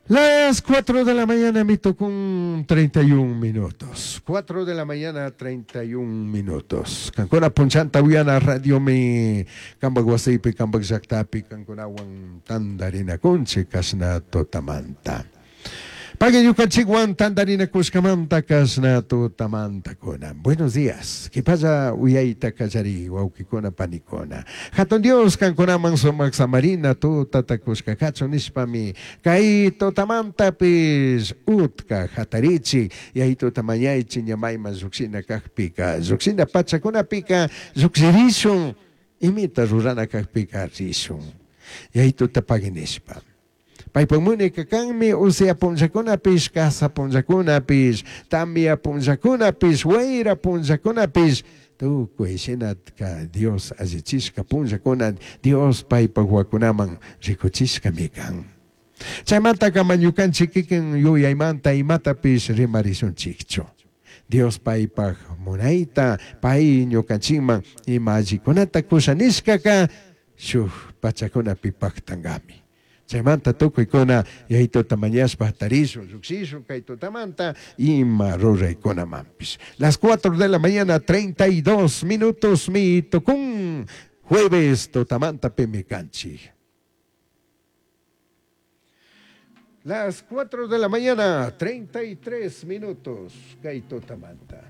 Las 4 de la mañana mi tukun 31 minutos. 4 de la mañana 31 minutos. Kankuna punchanta uyana radiomi kambak wasipi kambak llaktapi kankunawan tandarinakunchik kashna tutamanta. Pagui ñukanchikwan tandarinakushkamanta kashna tutamantakuna. Buenos días. Qhipalla uyayta kallari wawkikuna panikuna. Jatun Dios kankunaman sumak samarina tutata kushka kachun nishpami kay tutamantapish utka jatarichik Yayituta mañaichi ña mayman llujshina kajpika llujshina pachakunapika llujshirishun imita rurana kajpika rishun Yayituta pagui nishpa. Paipak munayka kanmi usia punllakunapish, kasa punllakunapish, tamia punllakunapish, huaira punllakunapish, tucui shinaka Dios allichishka punllakuna Dios paipak huacunaman ricuchishkami kan. Chaymantaka ama ñukanchik kikin yuyaymanta imatapish rimarishunchikchu. Dios paipak munayta, pai ñukanchikman ima allikunata kusha nishkaka shuj pachakunapi paktankami. Chaymanta tukuykuna Yayituta mañashpa jatarishun, llujshishun kay tutamanta ima ruraykunamanpish. Las cuatro de la mañana 32 minutosmi tukun jueves tutamanta pimi kanchik. Las 4 de la mañana, 33 minutos, kay tutamanta.